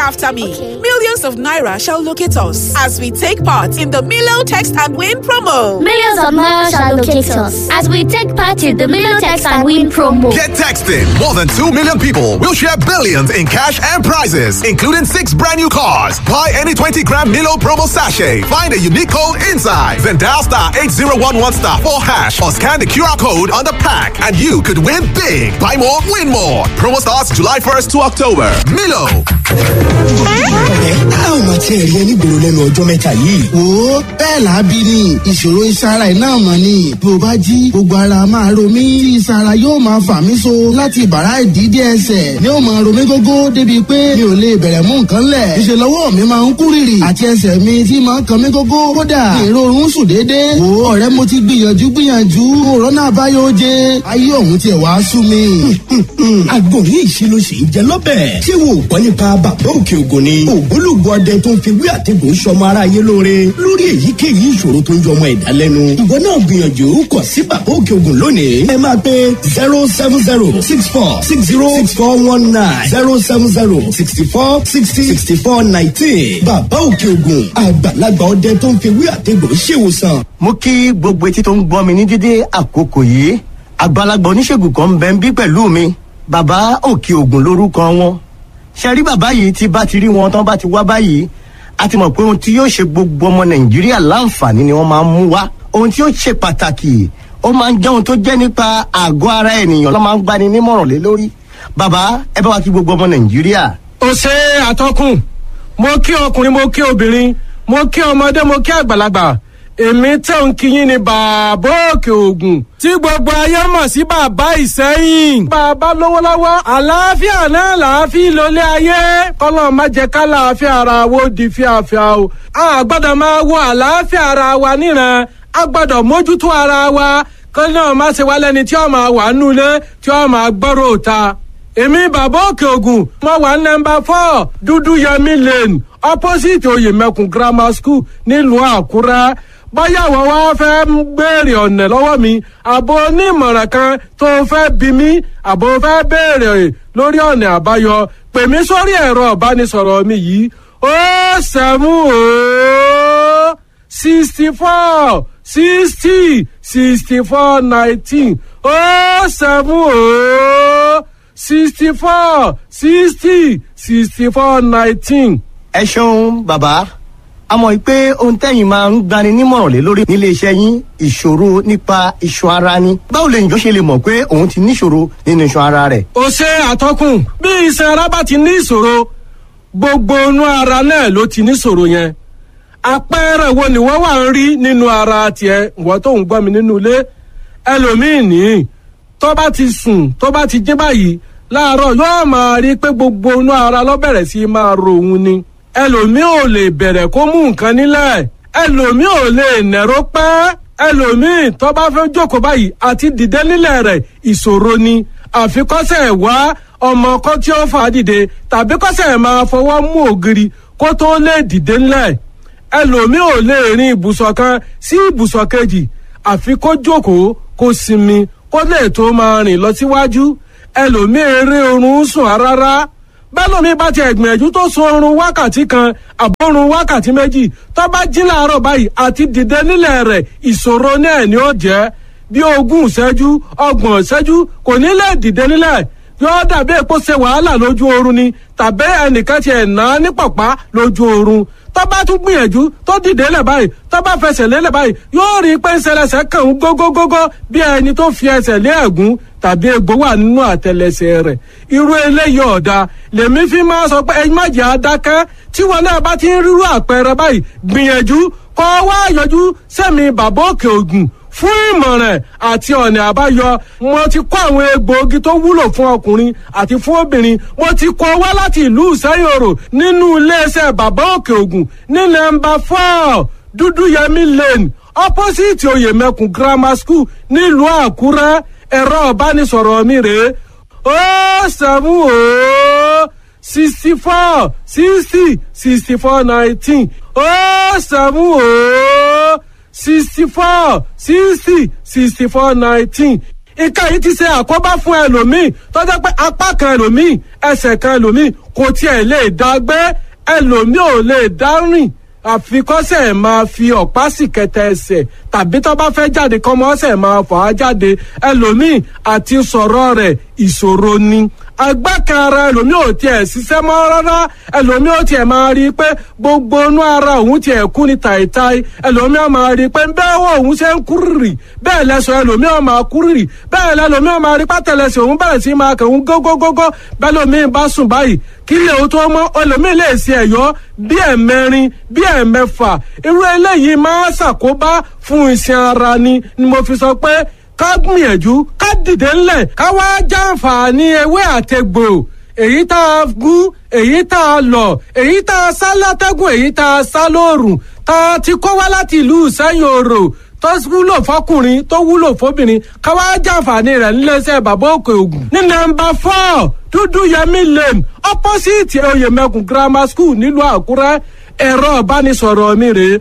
after me. Okay. Millions of Naira shall locate us as we take part in the Milo Text and Win promo. Millions of Naira shall locate us as we take part in the Milo Text and Win promo. Get texting. More than 2 million people will share billions in cash and prizes, including six brand new cars. Buy any 20 gram Milo promo sachet. Find a unique code inside. Then dial star 8011 star 4 hash or scan the QR code on the pack and you could win big. Buy more, win more. Promo starts July 1st to October. Milo. Ọ̀rẹ́, a ò máa tiẹ̀ rí ẹ nígboro lẹ́nu ọjọ́ mẹ́ta yìí. Wo, bẹ́ẹ̀ là á bí ni ìṣòro ìsara iná mọ̀ ni bí o bá jí, gbogbo ara máa ro mí, ìsara yóò máa fà mí so láti ìbàrá ìdídé ẹsẹ̀ ni ó máa ro mí gógó, débi pé mi ò lè bẹ̀rẹ̀ mú nǹkan lẹ̀. Ìṣe lọ́wọ́ mi máa ń kú rìrì àti ẹsẹ̀ mi tí máa ń kan mí gógó, kódà èrò oorun sùn déédéé. Wo ọ̀rẹ́, mo ti gbìyànjú gbìyànjú, òrónà àbáyọ oje, ayé òun tiẹ̀ wá sú mi. Àgbo yìí ṣe ló ṣe ń jẹ lọ́bẹ̀. Ṣé wo ò gbọ́ nípa Bàbá Òkè Ògùn ni? Ògbólógbò ọdẹ tó ń fi wí àtẹ̀gùn sọmọ aráyé lóore lórí èyíkéyìí ìṣòro tó ń yọ ọmọ ẹ̀dá lẹ́nu. Ìwọ náà gbìyànjú kọ̀ sí Bàbá Òkè Ògùn lónìí. Ẹ máa pe 07064606419, 07064606419. Bàbá Òkè Ògùn, àgbàlagbà ọdẹ tó ń fi wí àtẹ̀gùn ṣèwòsàn. Mo kí gbogbo etí tó ń gbọ́ mi ní dédé àkókò yìí. Àgbàlagbà oníṣègùn kan ń bẹ ń bí pẹ̀lú mi, Bàbá Òkè Ògùn lórúkọ wọn. Ṣe rí bàbá yìí, tí bá ti rí wọn tán bá ti wá báyìí, a ti mọ̀ pé ohun tí yóò ṣe gbogbo ọmọ Nàìjíríà láǹfààní ni wọ́n máa ń mú wá. Ohun tí yóò ṣe pàtàkì, ó máa ń jẹ́ ohun tó jẹ́ nípa àgọ́ ara ènìyàn ló máa ń gbani nímọ̀ràn lé lórí. Bàbá, ẹ bá wa kí gbogbo ọmọ Nàìjíríà. Ó ṣe àtọkùn. Mo kí ọkùnrin, mo kí obìnrin, mo kí ọmọdé, mo kí àgbàlagbà. Èmi tẹ̀ ń kíyìn ní Bàbá Òkè Ògùn, tí gbogbo ayé mọ̀ sí Bàbá Ìsẹ́yìn. Bàbá lówó lọ́wọ́, àlàáfíà náà làáfíà lólé ayé. Kọ́lọ́ má jẹ́ ká làáfíà ara wo di fíafíà o. A gbọ́dọ̀ máa wo àlàáfíà ara wa níran, a gbọ́dọ̀ mójútó ara wa, kọ́ náà má ṣe wá lẹ́ni tí ó máa wà nulẹ̀, tí ó máa gbọ́rọ̀ òta. Èmi Bàbá Òkè Ògùn, mo wà ní nọ́mbà 4 Dúdú Yẹmí Lane, opposite Oyèmẹkùn Grammar School, nílùú Àkúrẹ́. Bóyá àwọn wá fẹ́ ń béèrè ọ̀nà lọ́wọ́ mi, àbò onímọ̀ràn kan tó fẹ́ bí mi, àbò fẹ́ béèrè lórí ọ̀nà àbáyọ, pè mí sórí ẹ̀rọ ìbánisọ̀rọ̀ mi yìí: 070 64 60 64 19, 070 64 60 64 19. Ẹ ṣeun bàbá. A mọ̀ pé ohun tẹ́yìn máa ń gbani nímọ̀ràn lé lórí nílé iṣẹ́ yín, ìṣòro nípa iṣan ara ni. Báwo lè yàn ṣe lè mọ̀ pé òun ti níṣòro nínú iṣan ara rẹ̀? Ó ṣe àtọkùn. Bí iṣan ara bá ti ní ìṣòro, gbogbo inú ara náà ló ti níṣòro yẹn. Àpẹẹrẹ wo ni wọ́n wà ń rí nínú ara tiẹ̀, ìwọ tó ń gbọ́ mi nínú ilé? Ẹlòmíì ní tó bá ti sùn, tó bá ti jí báyìí láàárọ̀, yóò máa rí pé gbogbo inú ara ló bẹ̀rẹ̀ sí máa ro òun ni. Ẹlòmíì ò lè bẹ̀rẹ̀ kó mú nǹkan nílẹ̀, ẹlòmíì ò lè nẹ̀rọ pẹ́, ẹlòmíì tó bá fẹ́ jókòó báyìí, àti dìde nílẹ̀ rẹ̀ ìṣòro ni. Àfikọ́sẹ̀ wá ọmọ kan tí ó fà á dìde, tàbí kọ́sẹ̀ máa fọwọ́ mú ògiri kó tó lè dìde nílẹ̀. Ẹlòmíì ò lè rin ibùsọ̀ kan sí ibùsọ̀ kejì, àfi kó jókòó, kó sinmi, kó lè tó máa rìn lọ síwájú. Ẹlòmíì eré oorun sùn rárá. Bẹ́lòmíì bá ti ẹ̀gbìyànjú tó sun oorun wákàtí 1 àbórun wákàtí 2, tó bá jí láàárọ̀ báyìí, àti dìde nílẹ̀ rẹ̀ ìṣòro náà ni ó jẹ́. Bí 20 ìṣẹ́jú, 30 ìṣẹ́jú, kò ní lè dìde nílẹ̀. Yóò dàbí èpo ṣe wàhálà lójú oorun ni, tàbí ẹnìkan ti ẹ̀ ná ní pọ̀pá lójú oorun. Tó bá tún gbìyànjú tó dìde lẹ̀ báyìí, tó bá fẹsẹ̀ lélẹ̀ báyìí, yóò rí i pé ń ṣẹlẹ̀ṣẹ̀ kàn ń gógógógó, bí ẹni tó fi ẹsẹ̀ lé ẹ̀gún tàbí egbò wà nínú àtẹlẹsẹ̀ rẹ̀. Irú eléyìí ọ̀dà lèmi fi máa sọ pé ẹ má jẹ́ adákẹ́. Tí wọn náà bá ti ń rírú àpẹẹrẹ báyìí, gbìyànjú kọ́ wá yọjú sẹ́mi Bàbá Òkè Ògùn fún ìmọ̀ràn àti ọ̀nà àbáyọ. Mo ti kó àwọn egbòogi tó wúlò fún ọkùnrin àti fún obìnrin, mo ti kó wá láti ìlú Ìsẹ́yòrò nínú iléeṣẹ́ Bàbá Òkè Ògùn ní nọ́mbà 4 Dúdúyẹmí Lane, opposite Oyèmẹkùn Grammar School, nílùú Àkúrẹ́. Ẹ̀rọ ìbánisọ̀rọ̀ mi rèé: 070 64 60 64 19, 070 64 60 64 19. Nǹkan yìí ti ṣe àkóbá fún ẹlòmíì tó jẹ́ pé apá kan ẹlòmíì, ẹsẹ̀ kan ẹlòmíì kò tiẹ̀ lè dá gbé, ẹlòmíì ò lè dá rìn, àfikọ́sẹ̀ máa fi ọ̀pá sì kẹtẹ ẹsẹ̀, tàbí tó bá fẹ́ jáde kọ́mọ́sẹ̀ máa fà á jáde. Ẹlòmíì àti sọ̀rọ̀ rẹ̀ ìṣòro ni. Agbákan ara ẹlòmíì ò tiẹ̀ ṣiṣẹ́ mọ́ rárá. Ẹlòmíì ò tiẹ̀ máa rí i pé gbogbo inú ara òun tiẹ̀ kú ni tàìtàì. Ẹlòmíì ò máa rí i pé bẹ́ẹ̀ wọ òun ṣe ń kúrìrì, bẹ́ẹ̀ lẹ́sọ̀ ẹlòmíì ò máa kúrìrì, bẹ́ẹ̀ lẹ́lòmíì ò máa rí pátẹ́lẹsẹ̀ òun bẹ̀rẹ̀ sí máa kàn ń gógógógó. Bẹ́ẹ̀ lòmíì bá sùn báyìí, kí lè o tó mọ́, ẹlòmíì lè ṣe ẹ̀yọ́ bí ẹ̀mẹrin, bí ẹ̀mẹfà. Irú eléyìí máa ṣàkóbá fún iṣan ara ni ni mo fi sọ pé ká gbìyànjú ká dìde ńlẹ̀, ká wá jàǹfààní ewé àtegbò, èyí tá a gún, èyí tá a lọ̀, èyí tá a sá látẹ́gùn, èyí tá a sá lóòrùn, tá a ti kó wá láti ìlú Ìsẹ́yìn Òrò, tó wúlò fọkùnrin, tó wúlò fóbìnrin, ká wá jàǹfààní rẹ̀ níléeṣẹ́ Bàbá Òkè Ògùn. Ní nọ́mbà 4 Dúdú Yẹmí Lane, opposite Oyèmẹkùn Grammar School, nílùú Àkúrẹ́. Ẹ̀rọ ìbánisọ̀rọ̀ mi rèé: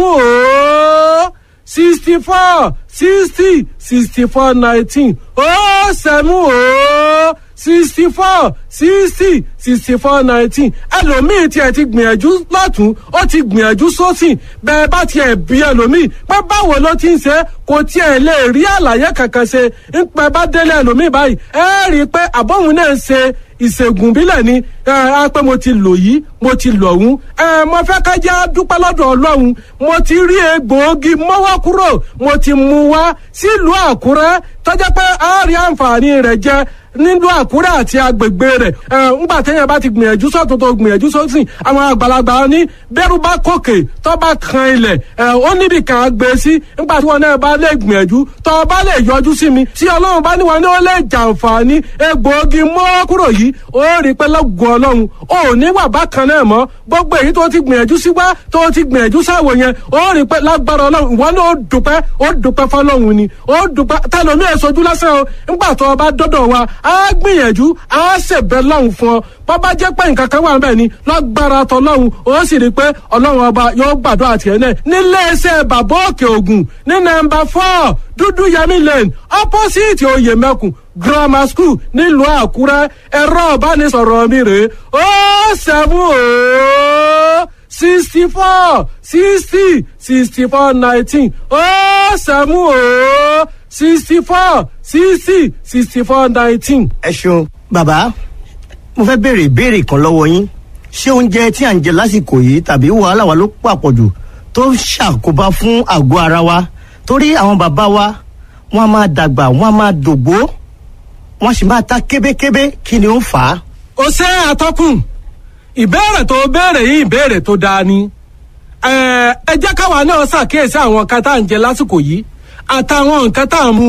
070 64 60 64 19, 070 64 60 64 19. Ẹlòmíì tiẹ̀ ti gbìyànjú lọ́tún, ó ti gbìyànjú sósì. Bẹ́ẹ̀ bá tiẹ̀ bí ẹlòmíì pé báwo ló ti ń ṣe, kò tiẹ̀ lè rí àlàyé kankan ṣe. Ń pẹ́ bá délé ẹlòmíì báyìí, ẹ rí i pé àbọ̀hún náà ń ṣe ìṣègùn bílẹ̀ ni. Ẹ á pé mo ti lò yìí, mo ti lò ọ̀hún. Ẹ mo fẹ́ ká jẹ́ dúpẹ́ lọ́dọ̀ Ọlọ́run. Mo ti rí egbòogi mọ́wọ́ kúrò, mo ti mú wá sílùú Àkúrẹ́, tọ́jà pé a rí àǹfààní rẹ̀ jẹ nílùú Àkúrẹ́ àti agbègbè rẹ̀. Ẹ ńgbà téèyàn bá ti gbìyànjú sọ́tún tó gbìyànjú sósì, àwọn àgbàlagbà ní bẹ́rù bá kòkè tó bá kan ilẹ̀, ẹ ó níbi kan á gbé sí. Ńgbà tí wọn náà bá lè gbìyànjú, tó bá lè yọjú sí mi, tí Ọlọ́run bá ní wọn ní ó lè jàǹfààní egbòogi mọ́wọ́ kúrò yìí, ó rí pé lọ́gùn Ọlọ́run ò ní wà bákan náà mọ́. Gbogbo èyí tó ti gbìyànjú sí wá, tó ti gbìyànjú sáwò yẹn, ó rí pé lágbára Ọlọ́run ìwọ náà ó dúpẹ́, ó dúpẹ́ fọlọ́run ni, ó dúpẹ́. Tẹlomi ẹ̀ sojú lásán o. Ńgbà tó o bá dọ́dọ̀ wa, á gbìyànjú, á ṣèbẹ̀ lọ́hùn fún ọ. Bọ́bá jẹ́ pé nǹkan kan wà ń bẹ̀ ni, lágbára tọlọ́hun, ó sì rí i pé Ọlọ́run ọba yóò gbàdúrà tiẹ̀ náà. Nílé iṣẹ́ Bàbá Òkè Ògùn ní nọ́mbà 4 Dúdú Yẹmí Lane, opposite Oyèmẹkùn Grammar School, nílùú Àkúrẹ́. Ẹ̀rọ ìbánisọ̀rọ̀ mi rèé: 070 64 60 64 19, 070 64 60 64 19. Ẹ ṣeun bàbá. Mo fẹ́ béèrè ìbéèrè kan lọ́wọ́ yín. Ṣé oúnjẹ tí à ń jẹ lásìkò yìí tàbí wàhálà wa ló pàpọ̀jù tó ń ṣàkóbá fún àgọ́ ara wa? Torí àwọn bàbá wa, wọ́n á máa dàgbà, wọ́n á máa dògbó, wọ́n sì máa ta kébékébé. Kí ni ó ń fà á? Ó ṣe, àtọkùn. Ìbéèrè tó béèrè yìí, ìbéèrè tó dáa ni. Ẹ jẹ́ káwa náà ṣàkíyèsí àwọn nǹkan tá à ń jẹ lásìkò yìí àtàwọn nǹkan tá à ń mu.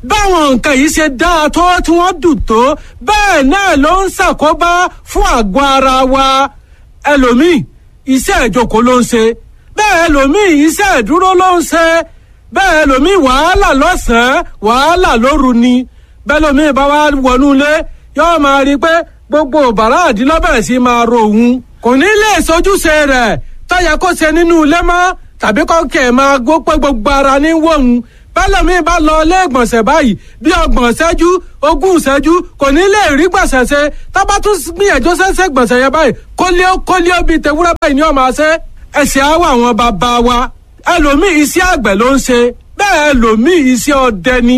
Báwọn nǹkan yìí ṣe dáa tó, tí wọ́n dùn tó, bẹ́ẹ̀ náà ló ń ṣàkóbá fún àgọ́ ara wa. Ẹlòmíì, iṣẹ́ ìjókòó ló ń ṣe. Bẹ́ẹ̀ ẹlòmíì, iṣẹ́ ìdúró ló ń ṣe. Bẹ́ẹ̀ ẹlòmíì, wàhálà lọ́sàn-án, wàhálà lóru ni. Bẹ́ẹ̀ lòmíì bá wá wọnú ilé, yóò máa rí i pé gbogbo bàrá àdínlọ́bẹ̀rẹ̀ sí máa ro òun, kò ní lè sojúṣe rẹ̀ tọ́yẹ kó ṣe nínú ilé mọ́, tàbí kọ́kẹ́ máa gbó pé gbogbo ara ní wọ̀hún. Bẹ́lẹ̀mí bá lọ ilé ìgbọ̀nsẹ̀ báyìí, bí 30 ìṣẹ́jú, 20 ìṣẹ́jú, kò ní lè rí gbọ̀nsẹ̀ ṣe. Tọ́ba tún gbìyànjú ṣẹ́ṣẹ́ gbọ̀nsẹ̀ yẹn báyìí, kólíó kólíó bíi tewúrẹ́ báyìí ni ó máa ṣe. Ẹ̀sìn á wà àwọn bàbá wa. Ẹlòmíì, iṣẹ́ àgbẹ̀ ló ń ṣe. Bẹ́ẹ̀ ẹlòmíì, iṣẹ́ ọdẹ ni.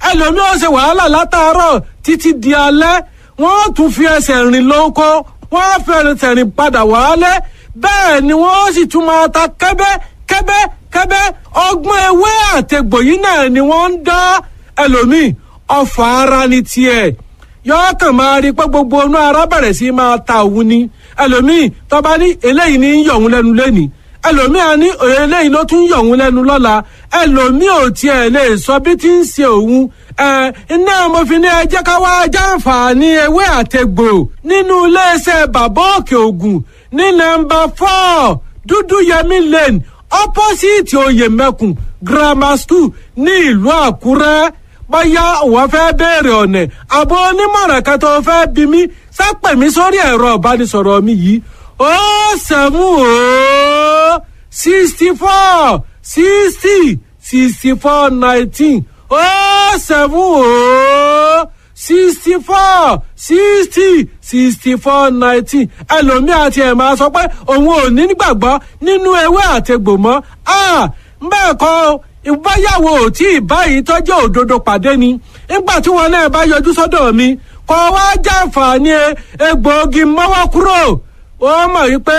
Ẹlòmíì ó ṣe wàhálà látàárọ̀ títí di alẹ́. Wọ́n tún fi ẹsẹ̀ rìn lóko, wọ́n fi ẹsẹ̀ rìn padà wálé. Bẹ́ẹ̀ ni wọ́n sì tún máa ta kẹ́bẹ́ kẹ́bẹ́ kẹ́bẹ́. Ọgbọ́n ewé àtegbò yìí náà ni wọ́n ń dá. Ẹlòmíì, ọfà ara ni tiẹ̀, yọọ kàn máa rí pé gbogbo inú ara bẹ̀rẹ̀ sí máa ta òun ni. Ẹlòmíì tọ́ba ní eléyìí ní yọ̀ òun lẹ́nu lẹ́nìí, ẹlòmíì á ní eléyìí ló tún yọ̀ òun lẹ́nu lọ́la. Ẹlòmíì ò tiẹ̀ lè sọ bí ti ń ṣe òun. Ẹ iná mo fi ní ẹ jẹ́ ká wá jàǹfààní ewé àtegbò nínú iléeṣẹ́ Bàbá Òkè Ògùn ní nọ́mbà 4 Dúdú Yẹmí Lane, opposite Oyèmẹkùn Grammar School, ní ìlú Àkúrẹ́. Bóyá òun fẹ́ béèrè ọ̀nà àbọ̀ onímọ̀ràn kan tó fẹ́ bí mi, sápẹ̀ mi sórí ẹ̀rọ ìbánisọ̀rọ̀ mi yìí: 070 64 60 64 19. ó seven ó 64 60 64 19. Ẹlòmíì àti ẹ̀ máa sọ pé òun ò ní gbàgbọ́ nínú ewé àtegbò mọ́. Bẹ́ẹ̀ kọ́, ìbáyàwó ò tí ì báyìí tọ́jú òdodo pàdé ni. Nígbà tí wọn náà bá yọjú sọ́dọ̀ mi kọ́ wá jàǹfààní egbòogi mọ́wọ́ kúrò, ó mọ̀ wípé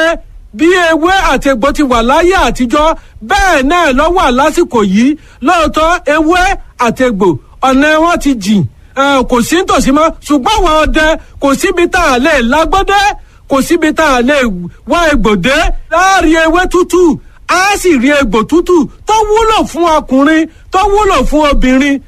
bí ewé àti egbò ti wà láyé àtijọ́, bẹ́ẹ̀ náà ló wà lásìkò yìí. Lóòótọ́, ewé àti egbò ọ̀nà wọn ti jìn, kò sí nítòsí mọ́, ṣùgbọ́n àwọn ọdẹ kò síbi tá a lè lágbọ́dẹ́, kò síbi tá a lè wá egbòdé láàrin ewé tútù, á sì rí egbò tútù tó wúlò fún ọkùnrin, tó wúlò fún obìnrin.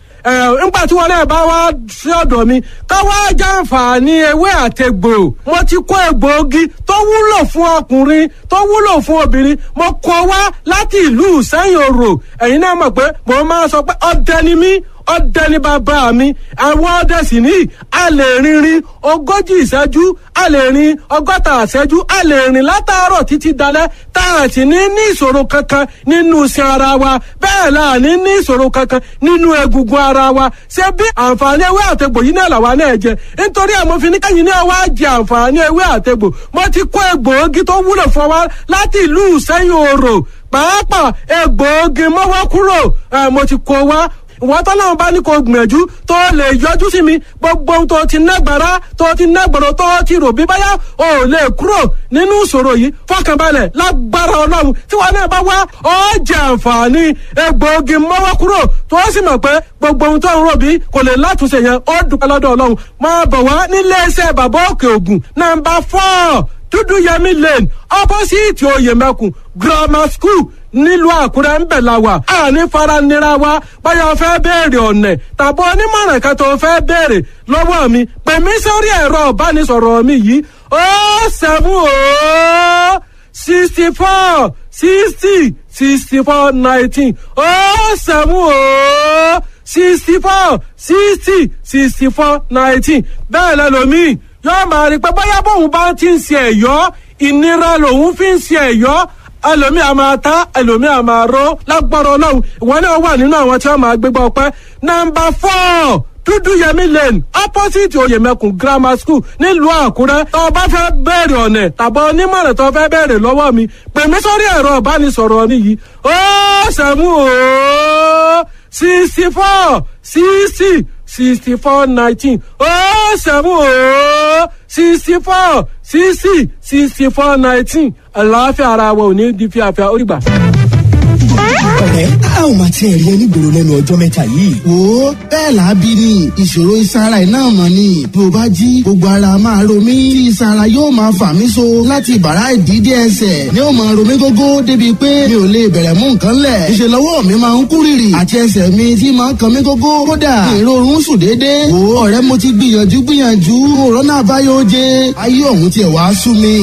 Nígbà tí wọn náà bá wá sí ọ̀dọ̀ mi ká wá jàǹfààní ewé àtegbò, mo ti kó egbòogi tó wúlò fún ọkùnrin, tó wúlò fún obìnrin, mo kó wá láti ìlú Ìsẹ́yìn Òrò. Ẹ̀yin náà mọ̀ pé mo máa sọ pé ọdẹ ni mí, ọdẹ ni bàbá mi. Àwọn ọdẹ sì ní a lè rìnrìn 40 ìṣẹ́jú, a lè rìn 60 ìṣẹ́jú, a lè rìn látàárọ̀ títí dalẹ́ tá a sì ní ní ìṣòro kankan nínú iṣan ara wa. Bẹ́ẹ̀ la ní ní ìṣòro kankan nínú egungun ara wa. Ṣé bí àǹfààní ewé àtegbò yìí náà làwa náà jẹ? Nítorí àmọ́ fi ní kẹ́yìn náà wá jẹ àǹfààní ewé àtegbò, mo ti kó egbòogi tó wúlò fún wa láti ìlú Ìsẹ́yìn Òrò, pàápàá egbòogi mọ́wọ́ kúrò, mo ti kó wá. Ìwọ́n tọ́lọ́run bá ní kó gbìyànjú tó lè yọjú sí mi, gbogbo ohun tó ti nágbára, tó ti nágbọ̀rọ̀, tó ti rò bí báyà ò lè kúrò nínú ìṣòro yìí, fọkànbalẹ̀, lágbára Ọlọ́run, tí wọn náà bá wá, ó jẹ àǹfààní egbòogi mọ́wọ́ kúrò, tó sì mọ̀ pé gbogbo ohun tó ń rò bí kò lè látúnṣe yẹn, ó dúpẹ́ lọ́dọ̀ Ọlọ́run. Máa bọ̀ wá nílé iṣẹ́ Bàbá Òkè Ògùn, nọ́mbà 4 Dúdú Yẹmí Lane, opposite Oyèmẹkùn Grammar School, nílùú Àkúrẹ́ ń bẹ̀ la wà. Àní fara nira wa. Báyọ̀ fẹ́ béèrè ọ̀nà tàbí onímọ̀ràn kan tó fẹ́ béèrè lọ́wọ́ mi, pè mí sórí ẹ̀rọ ìbánisọ̀rọ̀ mi yìí: 070 64 60 64 19, 070 64 60 64 19. Bẹ́ẹ̀ lẹ́lòmíì yóò máa rí pé bóyá bóun bá ti ń ṣe ẹ̀yọ́, ìnira lòun fi ń ṣe ẹ̀yọ́. Ẹlòmíì a máa ta, ẹlòmíì a máa ró. Lágbára Ọlọ́run, ìwọ náà wà nínú àwọn tí wọ́n máa gbégbá ọpẹ́. Nọ́mbà 4 Dúdú Yẹmí Lane, opposite Oyèmẹkùn Grammar School, nílùú Àkúrẹ́. Tó o bá fẹ́ bẹ̀rẹ̀ ọ̀nà tàbí onímọ̀ràn tó fẹ́ bẹ̀rẹ̀ lọ́wọ́ mi, pè mí sórí ẹ̀rọ ìbánisọ̀rọ̀ mi yìí: 070 64 60 64 19, 070 64 60 64 19. Àlàáfíà ara wa ò ní di fíafíà. Ó dìgbà. Ọ̀rẹ́, a ò máa tiẹ̀ rí ẹni gbòòrò lẹ́nu ọjọ́ mẹ́ta yìí. Wo, bẹ́ẹ̀ làábí ni. Ìṣòro iṣan ara ẹ̀ náà mọ̀ ni. Bí o bá jí, gbogbo ara máa ro mí tí iṣan ara yóò máa fà mí so láti ìbàrá ìdí dé ẹsẹ̀ ni ó máa ro mí gógó, débi pé mi ò lè bẹ̀rẹ̀ mú nǹkan lẹ̀. Ìṣe lọ́wọ́ mi máa ń kú rìrì àti ẹsẹ̀ mi tí máa ń kan mí gógó. Kódà ìrorun sùn déédéé. Wo ọ̀rẹ́, mo ti gbìyànjú gbìyànjú, òrónà àbáyọ oje, ayé ọ̀hún tiẹ̀ wá sú mi.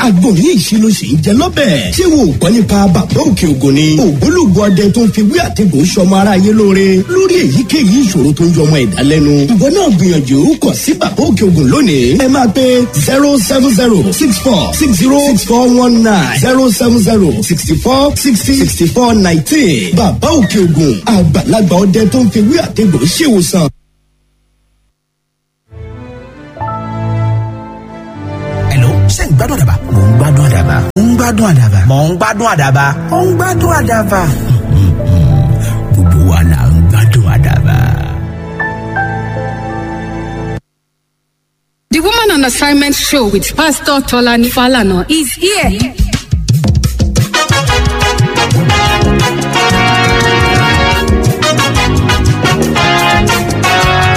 Àgbò yìí ṣe ló ṣe ń jẹ lọ́bẹ̀. Ṣé wo ò gbọ́ nípa Bàbá Òkè Ògùn ni? Ògbólógbò ọdẹ tó ń fi wí àtẹ̀gùn sọmọ aráyé lóore lórí èyíkéyìí ìṣòro tó ń yọmọ ẹ̀dá lẹ́nu. Ìwọ náà gbìyànjú kàn sí Bàbá Òkè Ògùn lónìí. Ẹ máa pe 07064606419, 07064606419. Bàbá Òkè Ògùn, àgbàlagbà ọdẹ tó ń fi wí àtẹ̀gùn ṣèwòsàn. Hello, ṣé ń gbádùn àdàbà? Mò ń gbádùn àdàbà. Mò ń gbádùn àdàbà. Mò ń gbádùn àdàbà. Mò ń gbádùn àdàbà. Gbogbo wa là ń gbádùn àdàbà. The Woman on Assignment show with Pastor Tolani Falana is here.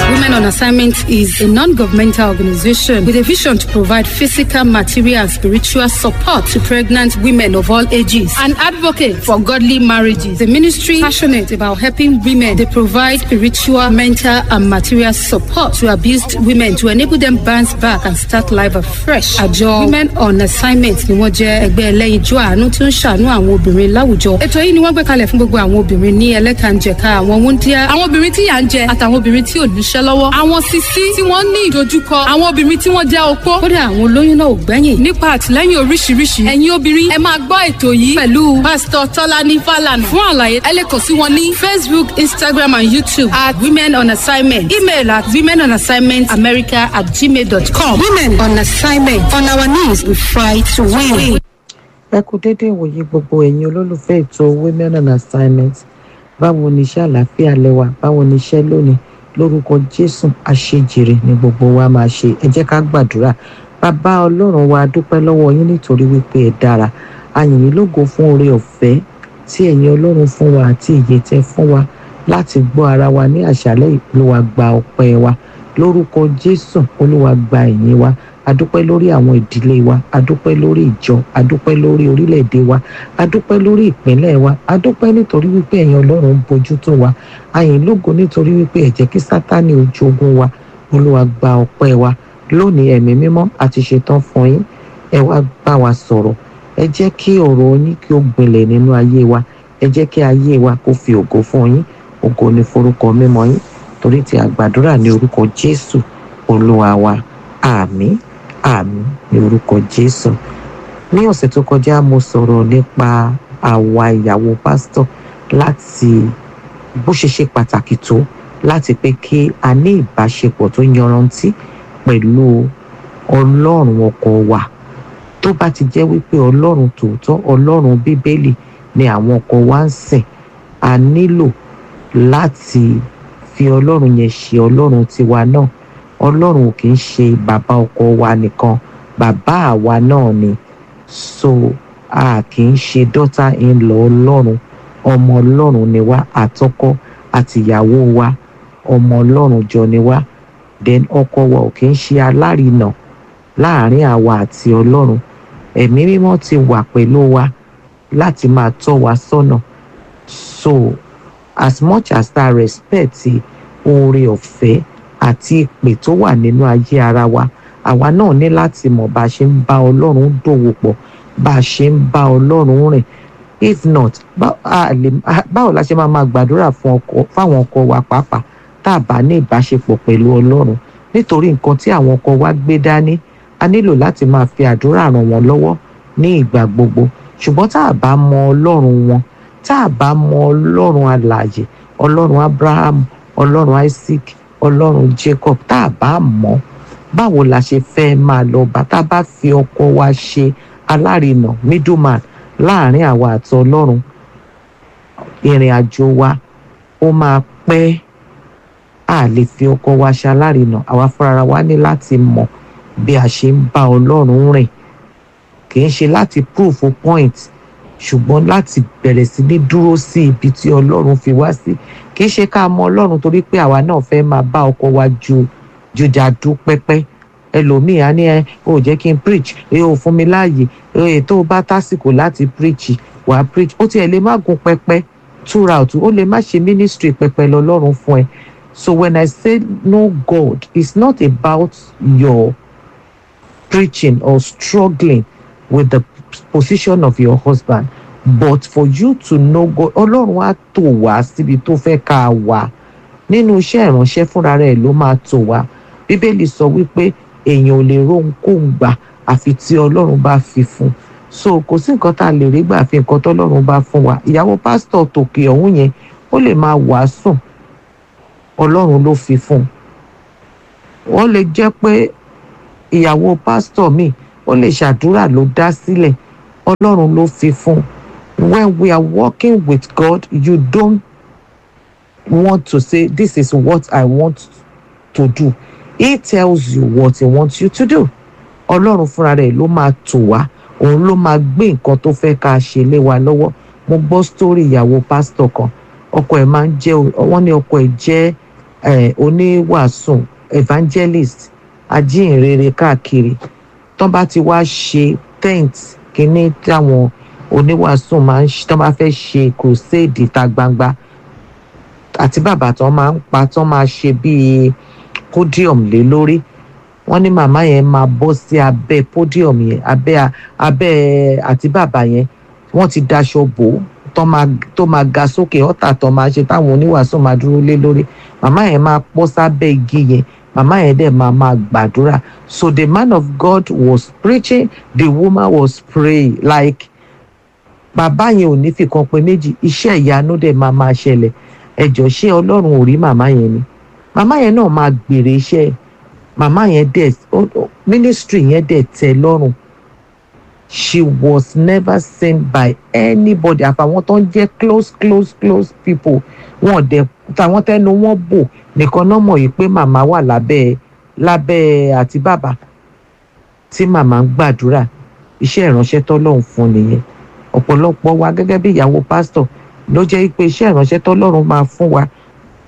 Women on Assignment is a non-governmental organization with a vision to provide physical, material, and spiritual support to pregnant women of all ages and advocate for godly marriages. The ministry passionate about helping women. They provide spiritual, mental, and material support to abused women to enable them bounce back and start life afresh. Àjọ Women on Assignment ni wọ́n jẹ́ ẹgbẹ́ ẹlẹ́yinjú àánú tí ó ń ṣàánú àwọn obìnrin láwùjọ. Ètò yìí ni wọ́n gbé kalẹ̀ fún gbogbo àwọn obìnrin ní ẹlẹ́kànjẹ̀ka, àwọn wúndíá, àwọn obìnrin tí yà ń jẹ àtàwọn obìnrin tí ò níṣẹ́ lọ́wọ́. Àwọn sisi tí wọ́n ní ìdojúkọ, àwọn obìnrin tí wọ́n jẹ́ opó, kódà àwọn olóyún náà ò gbẹ́yìn. Nípa àtìlẹ́yìn oríṣiríṣi, ẹ̀yin obìnrin, ẹ máa gbọ́ ètò yìí pẹ̀lú Pásítọ̀ Tọ́lání Fálànà. Fún àlàyé, ẹ lè kàn sí wọn ní Facebook, Instagram and YouTube at Women on Assignment. Email at womenonassignmentamerica@gmail.com. Women on Assignment. On our knees, we fight to win. Ẹ kú déédéé ìwòye gbogbo ẹ̀yin olólùfẹ́ ètò Women on Assignment. Báwo ni iṣẹ́? Àlàáfíà lẹ́wà? Báwo ni iṣẹ́ lónìí? Lórúkọ Jésù, àṣejèrè ni gbogbo wa máa ṣe. Ẹ jẹ́ ká gbàdúrà. Bàbá Ọlọ́run wa, dúpẹ́ lọ́wọ́ yín nítorí wípé ẹ dára. A yìn yín lógo fún oore ọ̀fẹ́ tí ẹ̀yin Ọlọ́run fún wa àti ìyè tẹ́ fún wa láti gbọ́ ara wa ní àṣálẹ́ yìí. Olúwa, gba ọpẹ́ wa lórúkọ Jésù. Olúwa, gba ìyìn wa. Adúpẹ́ lórí àwọn ìdílé wa, adúpẹ́ lórí ìjọ, adúpẹ́ lórí orílẹ̀-èdè wa, adúpẹ́ lórí ìpínlẹ̀ wa. Adúpẹ́ nítorí wípé ẹ̀yin Ọlọ́run ń bójú tó wa. A yìn lógo nítorí wípé ẹ jẹ́ kí Sátánì ó jogún wa. Olúwa, gba ọpẹ́ wa lónìí. Ẹ̀mí Mímọ́, àti ṣetán fún yín. Ẹ wá bá wa sọ̀rọ̀. Ẹ jẹ́ kí ọ̀rọ̀ yín kí ó gbilẹ̀ nínú ayé wa. Ẹ jẹ́ kí ayé wa kó fi ògo fún yín. Ògo ní forúkọ mímọ́ yín, torí tí a gbàdúrà ní orúkọ Jésù Olúwa wa. Àmín, àmín ní orúkọ Jésù. Ní ọ̀sẹ̀ tó kọjá, mo sọ̀rọ̀ nípa àwa ìyàwó pásítọ̀, láti bó ṣe ṣe pàtàkì tó láti pé kí a ní ìbáṣepọ̀ tó yanrantí pẹ̀lú Ọlọ́run ọkọ wa. Tó bá ti jẹ́ wípé Ọlọ́run tòótọ́, Ọlọ́run Bíbélì ni àwọn ọkọ wa ń sìn, a nílò láti fi Ọlọ́run yẹn ṣe Ọlọ́run tiwa náà. Ọlọ́run ò kì í ṣe bàbá ọkọ wa nìkan, bàbá àwa náà ni. So a kì í ṣe daughter in law Ọlọ́run, ọmọ Ọlọ́run ni wá. Àtọkọ àtìyàwó wa, ọmọ Ọlọ́run jọ ni wá. Then ọkọ wa ò kì í ṣe alárinà láàrin àwa àti Ọlọ́run. Ẹ̀mí Mímọ́ ti wà pẹ̀lú wa láti máa tọ́ wa sọ́nà. So as much as that respect, oore ọ̀fẹ́ àti ìpè tó wà nínú ayé ara wa, àwa náà ní láti mọ̀ bá a ṣe ń bá Ọlọ́run dòwò pọ̀, bá a ṣe ń bá Ọlọ́run rìn. If not, báwo la ṣe máa máa gbàdúrà fún ọkọ, fáwọn ọkọ wa pàápàá, tá a bá ní ìbáṣepọ̀ pẹ̀lú Ọlọ́run? Nítorí nǹkan tí àwọn ọkọ wa gbé dání, a nílò láti máa fi àdúrà ràn wọ́n lọ́wọ́ ní ìgbà gbogbo. Ṣùgbọ́n tá a bá mọ Ọlọ́run wọn, tá a bá mọ Ọlọ́run alààyè, Ọlọ́run Abraham, Ọlọ́run Isaac, Ọlọ́run Jacob, tá a bá mọ̀, báwo la ṣe fẹ́ máa lọ bá tá a bá fi ọkọ wa ṣe alárinà, middleman, láàrin àwa àti Ọlọ́run? Ìrìn àjò wa ó máa pẹ́. A lè fi ọkọ wa ṣe alárinà. Àwa fúnra wa ní láti mọ̀ bí a ṣe ń bá Ọlọ́run rìn. Kì í ṣe láti proof a point, ṣùgbọ́n láti bẹ̀rẹ̀ sí ní dúró sí ibi tí Ọlọ́run fi wá sí. Kì í ṣe ká mọ Ọlọ́run torí pé àwa náà fẹ́ máa bá ọkọ wa ju jùjàdú pẹ́pẹ́. Ẹlòmíì á ní, "Ẹ ò jẹ́ kí n preach, ẹ ò fún mi láàyè." Ẹ tó bá tásìkò láti preach, wàá preach. Ó tiẹ̀ lè má gun pẹpẹ throughout, ó lè má ṣe ministry pẹpẹ lọ́lọ́run fún ẹ. So when I say know God, it's not about your preaching or struggling with the position of your husband, but for you to know God. Ọlọ́run á tò wá síbi tó fẹ́ ká wà nínú iṣẹ́ ìránṣẹ́. Fúnra rẹ̀ ló máa tò wá. Bíbélì sọ wípé èèyàn ò lè róhunkóhun gbà àfi tí Ọlọ́run bá fi fún. So kò sí nǹkan tá a lè rí gbà fi nǹkan tọ́lọ́run bá fún wa. Ìyàwó pásítọ̀ tòkè ọ̀hún yẹn, ó lè máa wàásùn, Ọlọ́run ló fi fún un. Wọ́n lè jẹ́ pé ìyàwó pásítọ̀ míì, ó lè ṣàdúrà ló dá sílẹ̀, Ọlọ́run ló fi fún un. When we are working with God, you don't want to say, "This is what I want to do." He tells you what he wants you to do. Ọlọ́run fúnra rẹ̀ ló máa tò wá, òun ló máa gbé nǹkan tó fẹ́ ká ṣe lé wa lọ́wọ́. Mo gbọ́ sítórì ìyàwó pásítọ̀ kan. Ọkọ ẹ̀ máa ń jẹ́, wọ́n ní ọkọ ẹ̀ jẹ́ oníwàásù, evangelist, ajínrere káàkiri. Tán bá ti wá ṣe tent kínní táwọn oníwàásù máa ń ṣe, tán bá fẹ́ ṣe crusade ìta gbangba, àti bàbá tán máa ń pa, tán máa ṣe bíi podium lé lórí, wọ́n ní màmá yẹn máa bọ́ sí abẹ́ podium yẹn, abẹ́ àti bàbá yẹn. Wọ́n ti daṣọ bò ó tó máa ga sókè, ọ̀tà tó máa ṣe táwọn oníwàásù máa dúró lé lórí. Màmá yẹn máa pọ́ sábẹ́ igi yẹn, màmá yẹn dẹ̀ máa gbàdúrà. So the man of God was preaching, the woman was praying. Like, bàbá yẹn ò ní fìkan pé méjì, iṣẹ́ ìyanu dẹ̀ máa ṣẹlẹ̀. Ẹjọ́, ṣé Ọlọ́run ò rí màmá yẹn ni? Màmá yẹn náà máa gbèrè iṣẹ́. Màmá yẹn dẹ̀ ministry yẹn dẹ̀ tẹ́ lọ́rùn. She was never seen by anybody àfàwọn tó ń jẹ́ close, close, close people. Wọn dẹ̀ tàwọn tẹnu wọn bò nìkan náà mọ̀ yìí pé màmá wà lábẹ́ àti bàbá tí màmá ń gbàdúrà. Iṣẹ́ ìránṣẹ́ tọ́lọ́run fún nìyẹn. Ọ̀pọ̀lọpọ̀ wa gẹ́gẹ́ bí ìyàwó pásítọ̀ ló jẹ́ pé iṣẹ́ ìránṣẹ́ tọ́lọ́run máa fún wa,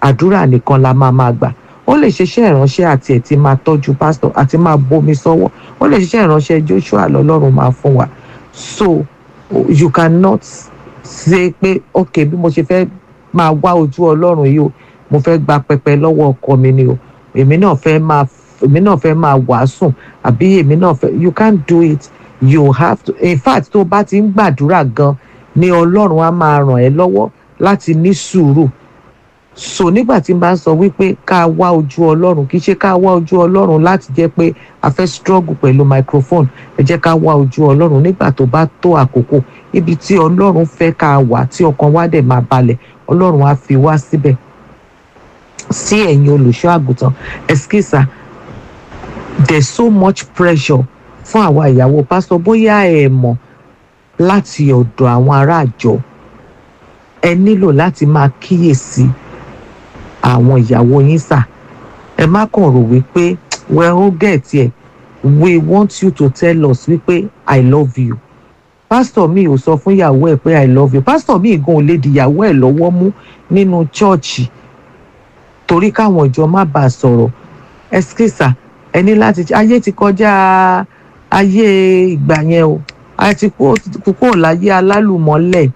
àdúrà nìkan la máa gbà. Ó lè ṣe iṣẹ́ ìránṣẹ́ àti ẹ̀ tí máa tọ́jú pásítọ̀ àti máa bomi sọ́wọ́. Ó lè ṣiṣẹ́ ìránṣẹ́ Joshua lọ́lọ́run máa fún wa. So you cannot say pé, "Ok, bí mo ṣe fẹ́ máa wá ojú Ọlọ́run yìí o, mo fẹ́ gba pẹpẹ lọ́wọ́ ọkọ mi ni o, èmi náà fẹ́ máa wàásùn àbí èmi náà fẹ́." You can't do it. You have to, in fact, tó bá ti ń gbàdúrà gan ni Ọlọ́run á máa ràn ẹ́ lọ́wọ́ láti ní sùúrù. So nígbà tí n bá ń sọ wípé ká wá ojú Ọlọ́run, kì í ṣe ká wá ojú Ọlọ́run láti jẹ́ pé a fẹ́ struggle pẹ̀lú microphone. Ẹ jẹ́ ká wá ojú Ọlọ́run nígbà tó bá tó àkókò. Ibi tí Ọlọ́run fẹ́ ká wà, tí ọkàn wa dẹ̀ máa balẹ̀, Ọlọ́run á fi wá síbẹ̀. Sí ẹ̀yin olùṣọ́ àgùntàn, ẹ̀skísà, there's so much pressure fún àwa ìyàwó pásítọ̀. Bóyá ẹ mọ̀, láti ọ̀dọ̀ àwọn ará àjọ, ẹ nílò láti máa kíyèsí àwọn ìyàwó yín sà. Ẹ má kàn rò wípé, "Well, ó get ẹ." We want you to tell us wípé, "I love you." Pásítọ̀ mi ò sọ fún ìyàwó ẹ̀ pé, "I love you." Pásítọ̀ mi gan ò lè di ìyàwó ẹ̀ lọ́wọ́ mú nínú chọ́ọ̀chì torí káwọn ìjọ má bàa sọ̀rọ̀. Ẹskísà, ẹ ní láti, ayé ti kọjá ayé ìgbà yẹn o. A ti kúrò láyé alálùmọ́lẹ̀.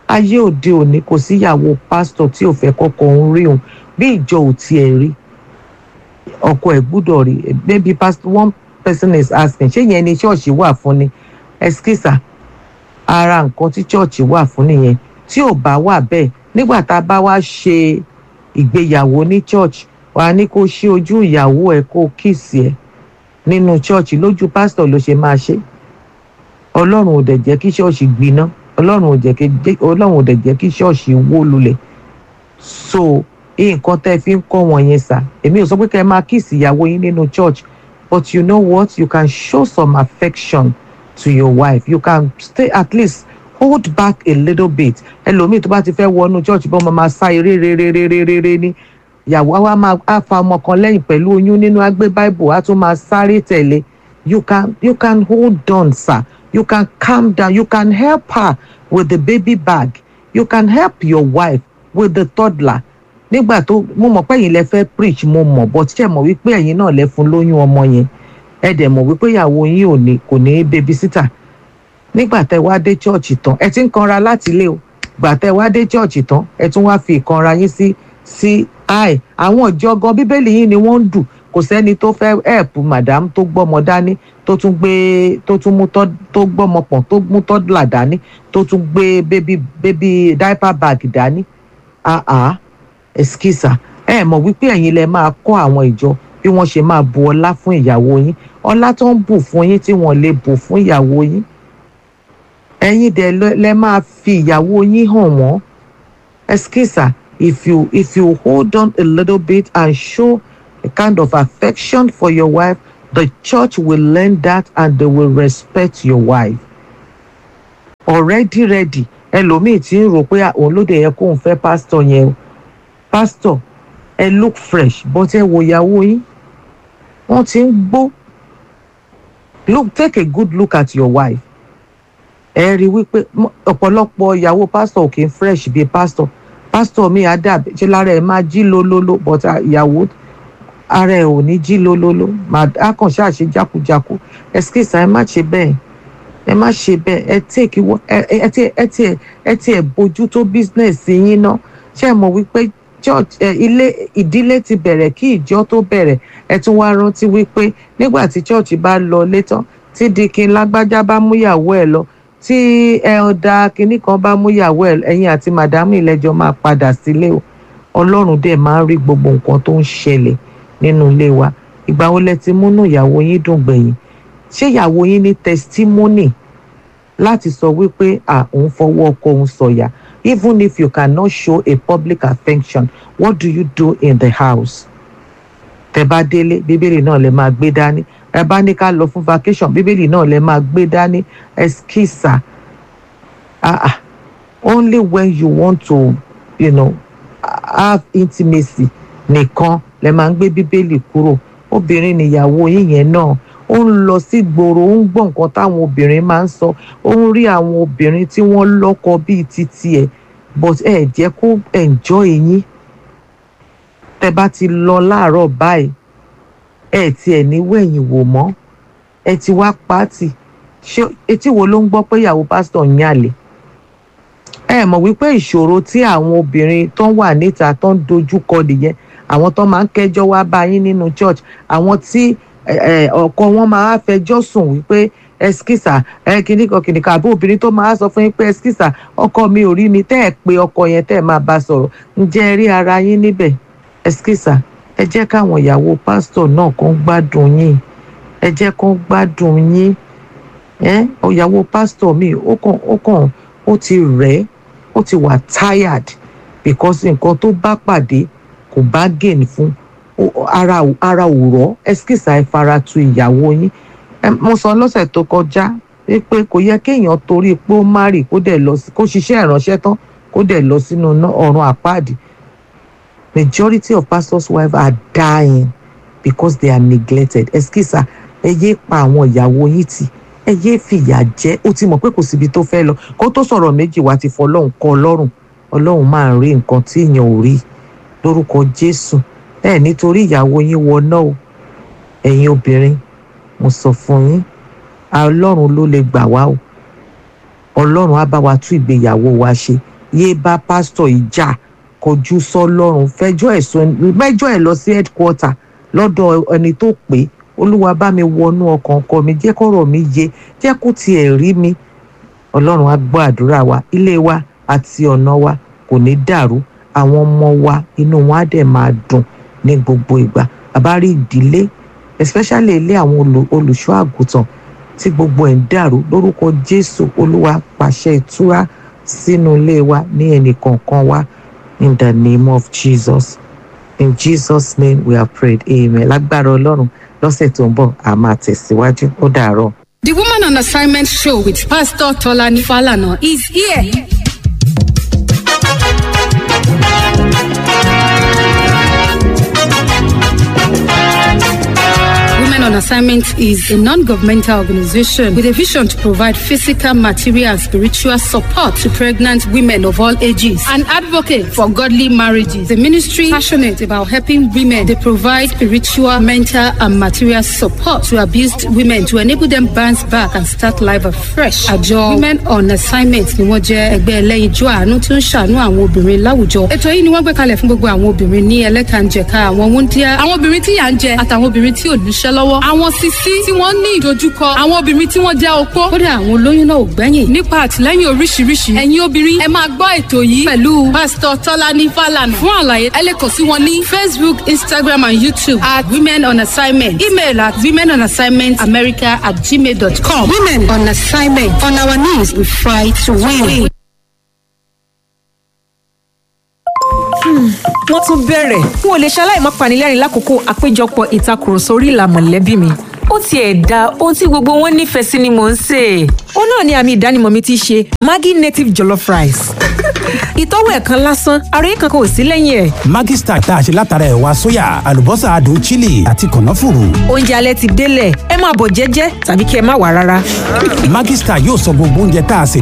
Ayé òde òní, kò síyàwó pásítọ̀ tí ò fẹ́ kọ́kọ́ ń rí òun. Bí ìjọ ò tiẹ̀ rí, ọkọ ẹ̀ gbúdọ̀ rí. Maybe pastor, one person is asking, ṣé yẹn ni ṣọ́ọ̀ṣì wà fún ni? Ẹskísà, ara nǹkan tí ṣọ́ọ̀ṣì wà fún nìyẹn. Tí ò bá wà bẹ́ẹ̀, nígbà tá a bá wá ṣe ìgbéyàwó ní church, wà á ní kó ṣí ojú ìyàwó ẹ, kó kiss ẹ nínú church lójú pásítọ̀ ló ṣe máa ṣe. Ọlọ́run ò dẹ̀ jẹ́ kí ṣọ́ọ̀ṣì gbiná. Ọlọ́run ò dẹ̀ jẹ́ kí ṣọ́ọ̀ṣì wó lulẹ̀. So nǹkan tẹ́ fi ń kọ́ wọn yẹn sà, èmi ò sọ pé kẹ́ ẹ máa kiss ìyàwó yín nínú church, but you know what? You can show some affection to your wife. You can stay, at least hold back a little bit. Ẹlòmíì tó bá ti fẹ́ wọnú church, bọ́n máa sá eré réréréréré ní ìyàwó wa máa á fa ọmọ kan lẹ́yìn pẹ̀lú oyún nínú, á gbé Bible, á tún máa sáré tẹ̀lé. You can hold on, sir. You can calm down. You can help her with the baby bag. You can help your wife with the toddler. Nígbà tó mo mọ̀ pé ẹ̀yin lẹ fẹ́ preach, mo mọ̀, but ṣe mọ̀ wípé ẹ̀yin náà lẹ fún lóyún ọmọ yẹn? Ẹ dẹ̀ mọ̀ wípé ìyàwó yín ò ní kò ní babysitter. Nígbà tẹ wá dé church tán, ẹ ti ń kanra láti ilé o. Gbà tẹ wá dé church tán, ẹ tún wá fi ìkanra yín sí i. Àwọn ìjọ gan, Bíbélì yín ni wọ́n ń dù. Kò sẹ́ni tó fẹ́ help madam tó gbọ́mọ dání, tó tún gbé, tó tún mú tọ́, tó gbọ́mọ pọ̀n, tó mú toddler dání, tó tún gbé baby diaper bag dání. Ah ah, ẹskísà, ẹ mọ̀ wípé ẹ̀yin lẹ máa kọ́ àwọn ìjọ bí wọ́n ṣe máa bu ọlá fún ìyàwó yín, ọlá tó ń bù fún yín tí wọ́n lè bù fún ìyàwó yín. Ẹ̀yin dẹ̀ lẹ máa fi ìyàwó yín hàn wọ́n. Ẹskísà, if you hold on a little bit and show a kind of affection for your wife, the church will learn that and they will respect your wife. Already ready, ẹlòmíì tí ń rò pé òun ló dé yẹ kóun fẹ́ pásítọ̀ yẹn o. Pásítọ̀, ẹ look fresh, but ẹ wo ìyàwó yín, wọ́n ti ń gbó. Look, take a good look at your wife. Ẹ rí i wípé ọ̀pọ̀lọpọ̀ ìyàwó pásítọ̀ ò kì í fresh bíi pásítọ̀. Pásítọ̀ mi á dàbí ṣe lára ẹ̀ máa jí lólóló, but ìyàwó, ara ẹ̀ ò ní jí lólóló, á kàn ṣáà ṣe jákujáku. Excuse, ẹ má ṣe bẹ́ẹ̀, ẹ má ṣe bẹ́ẹ̀. Ẹ take ẹ tiẹ̀ bójú tó business yín ná. Ṣé ẹ mọ̀ wípé church ẹ ilé ìdílé ti bẹ̀rẹ̀ kí ìjọ tó bẹ̀rẹ̀? Ẹ tún wá rántí wípé nígbà tí church bá lọ létán, tí dikin lágbájá bá múyàwó ẹ lọ, tí ẹ ọ̀dà kinní kan bá múyàwó ẹ, ẹ̀yin àti màdámù ìlẹ́jọ́ máa padà sílé o. Ọlọ́run dẹ̀ máa ń rí gbogbo nǹkan tó ń ṣẹlẹ̀ nínú ilé wa. Ìgbà wo lẹ ti múnú ìyàwó yín dùn gbẹ̀yìn? Ṣé ìyàwó yín ní testimony láti sọ wípé à òun fọwọ́ ọkọ òun sọ̀yà? Even if you cannot show a public affection, what do you do in the house? Tẹ bá délé, Bíbélì náà lẹ máa gbé dání. Ẹ bá ní ká lọ fún vacation, Bíbélì náà lẹ máa gbé dání. Ẹskísà, ah ah, only when you want to have intimacy nìkan lẹ máa ń gbé Bíbélì kúrò. Obìnrin nìyàwó yín yẹn náà, ó ń lọ sí gbòòrò, ó ń gbọ́ nǹkan táwọn obìnrin máa ń sọ, ó ń rí àwọn obìnrin tí wọ́n lọ́kọ bíi titi ẹ̀, but ẹ jẹ́ kó enjoy yín. Tẹ bá ti lọ láàárọ̀ báyìí, ẹ tiẹ̀ ní wẹ̀yìn wò mọ́, ẹ ti wá pàtì. Ṣé etí wo ló ń gbọ́ pé ìyàwó pásítọ̀ ń yàlè? Ẹ mọ̀ wípé ìṣòro tí àwọn obìnrin tó ń wà níta tó ń dojú kọ nìyẹn. Àwọn tó máa ń kẹ́jọ́ wá bá yín nínú church, àwọn tí ọkọ wọn máa fẹjọ́ sùn wípé ẹskísà, ẹ kìnnìkan kìnnìkan, àbí obìnrin tó máa sọ fún yín pé ẹskísà, ọkọ mi ò rí mi, tẹ́ ẹ pé ọkọ yẹn tẹ́ ẹ máa bá sọ̀rọ̀. Ǹjẹ́ ẹ rí ara yín níbẹ̀? Ẹskísà, ẹ jẹ́ káwọn ìyàwó pásítọ̀ náà kàn gbádùn yín, ẹ jẹ́ kán gbádùn yín. Ẹ ìyàwó pásítọ̀ mi, ó kàn ó ti rẹ̀, ó ti wà tired because nǹkan tó bá pàdé kò bá gain fún ara ò rọ̀. Ẹskísà, ẹ fara tu ìyàwó yín. Mo sọ lọ́sẹ̀ tó kọjá wípé kò yẹ kéèyàn torí pé ó má rì kó dẹ̀ lọ kó ṣiṣẹ́ ìránṣẹ́ tán kó dẹ̀ lọ sínú ọ̀run àpáàdì. Majority of pastors' wives are dying because they are neglected. Ẹskísà, ẹ yé pa àwọn ìyàwó yín tì, ẹ yé fìyà jẹ. Ó ti mọ̀ pé kò síbi tó fẹ́ lọ, kó tó sọ̀rọ̀ méjì wá ti fọlọ́run kọ́ ọlọ́run. Ọlọ́run máa ń rí nǹkan tí èèyàn ò rí. Lórúkọ Jésù, ẹ nítorí ìyàwó yín wọná o. Ẹ̀yin obìnrin, mo sọ fún yín, Ọlọ́run ló lè gbà wá o. Ọlọ́run á bá wa tún ìgbéyàwó wa ṣe. Yé bá pásítọ̀ ìjà, kọjú sọ́lọ́run, fẹjọ́ ẹ̀sùn mẹ́jọ ẹ̀ lọ sí headquarter lọ́dọ̀ ẹni tó pé, Olúwa bá mi wọnú ọkàn ọkọ mi, jẹ́ kọ́rọ̀ mi yé, jẹ́ kó tiẹ̀ rí mi. Ọlọ́run á gbọ́ àdúrà wa. Ilé wa àti ọ̀nà wa kò ní dàrú. Àwọn ọmọ wa, inú wọn á dẹ̀ máa dùn ní gbogbo ìgbà. Bàbá rí ìdílé, especially ilé àwọn olùṣọ́ àgùntàn tí gbogbo ẹ̀ ń dàrú, lórúkọ Jésù, Olúwa pàṣẹ ìtura sínú ilé wa ní ẹnì kọ̀ọ̀kan wa, in the name of Jesus. In Jesus' name we have prayed, amen. Lágbára Ọlọ́run, lọ́sẹ̀ tó ń bọ̀, a máa tẹ̀síwájú. Ó dàárọ̀. The Woman on Assignment show with Pastor Tolani Falana is here. Women on Assignment is a non-governmental organization with a vision to provide physical, material, and spiritual support to pregnant women of all ages and advocate for godly marriages. The ministry passionate about helping women. They provide spiritual, mental, and material support to abused women to enable them bounce back and start life afresh. Àjọ Women on Assignment ni wọ́n jẹ́ ẹgbẹ́ ẹlẹ́yinjú àánú tí ó ń ṣàánú àwọn obìnrin láwùjọ. Ètò yìí ni wọ́n gbé kalẹ̀ fún gbogbo àwọn obìnrin ní ẹlẹ́kànjẹ̀ka, àwọn wúndíá, àwọn obìnrin tí yà ń jẹ àtàwọn obìnrin tí ò níṣẹ́ lọ́wọ́, àwọn sisi tí wọ́n ní ìdojúkọ, àwọn obìnrin tí wọ́n jẹ́ opó, kódà àwọn olóyún náà ò gbẹ́yìn. Nípa àtìlẹ́yìn oríṣiríṣi, ẹ̀yin obìnrin, ẹ máa gbọ́ ètò yìí pẹ̀lú Pásítọ̀ Tọ́lání Fálànà. Fún àlàyé, ẹ lè kàn sí wọn ní Facebook, Instagram and YouTube at Women on Assignment, email at womenonassignmentamerica@gmail.com. Women on Assignment. On our knees, we fight to win. Wọ́n tún bẹ̀rẹ̀. N ò lè ṣaláì má panilẹ́rìn lákòókò àpéjọpọ̀ ìtakùrọ̀sọ orí ìlà mọ̀lẹ́bí mi. Ó tiẹ̀ da ohun tí gbogbo wọn nífẹ̀ẹ́ sí ni mò ń sè é. Ó náà ni àmì ìdánimọ̀ mi ti ṣe Maggi native jollof rice. Ìtọ́wò ẹ̀ kan lásán, ara yìí kankan ò sí lẹ́yìn ẹ̀. Maggi Star tá a ṣe látara ẹ̀wà sóyà, àlùbọ́sà adùn chili àti kànáfùrù. Oúnjẹ alẹ́ ti délẹ̀, ẹ máa bọ̀ jẹ́jẹ́ tàbí kí ẹ má wà rárá. Maggi Star yóò sọ gbogbo oúnjẹ tá a sè